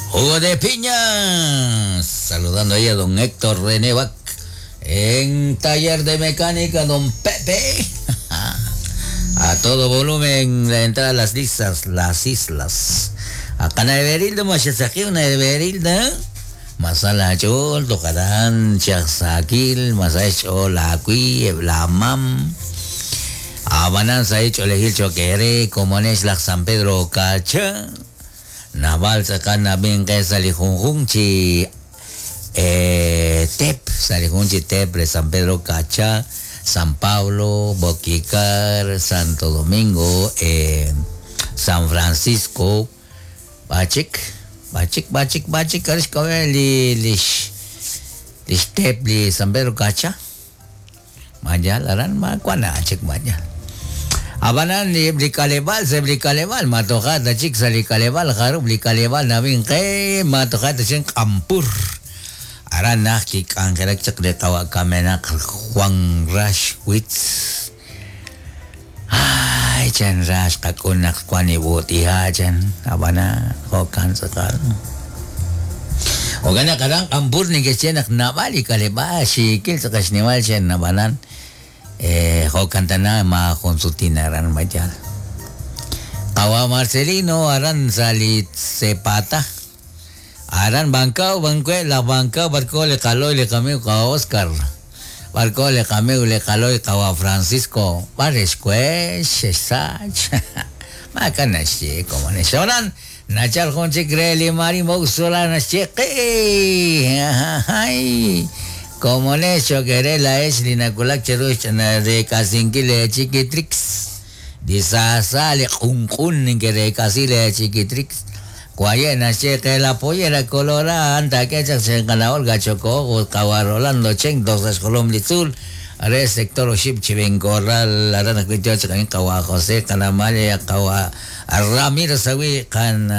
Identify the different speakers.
Speaker 1: Jugo de piña. Saludando ahí a don Héctor René Bac en taller de mecánica, don Pepe. A todo volumen la entrada a las islas, las islas. Acá na Everilda, una Everilda. Masala chol, tocarán, chasakil, masala la kui, la mam. Abanan sa hecho elegir choquere, como es la San Pedro Cacha. Naval sacan bien que sali chi tep, salijunchi tep de San Pedro Cacha, San Pablo, Boquicar, Santo Domingo, San Francisco, Bachik, Bachik, Bachik, Bachik, li lish lish tep li San Pedro Cacha. Maya, laran ma kuana chik maya. Abanan li blikalebal, se blikalebal, matojata chik sa likalebal, jarub likalebal nabin ke, matojata chik ampur. Aran nak chik angelak chik de kawa kamenak Juan Rashwitz. Ay, chan rash kakunak kwani buti ha chan. Abana, hokan sakal. Ogana karang ampur ni ke chenak nabali kaleba, shikil sa kashniwal chen nabanan. Hokan tana ma konsultina ran mayal. Kawa Marcelino aran salit sepata. Aran bangkau bangkue la bangkau barko le kaloy le kami ka Oscar. Barko le kami le kaloy kawa Francisco. Pares kue shesach. Makana shi como ne shoran. Nachal jonche kreli mari moxola nasheqi. Ay. Como ne chokere la es linakulak cheruch na de kasinkile chiquitrix. Disasa le kun que de casile chiquitrix. Cuayena cheque la pollera colora anta que se la Olga Chocó, Rolando Chen, dos escolom litzul. Are sector oship chiven corral, arana cuito chican kawa José, Canamaya, kawa Ramiro Sawi, can.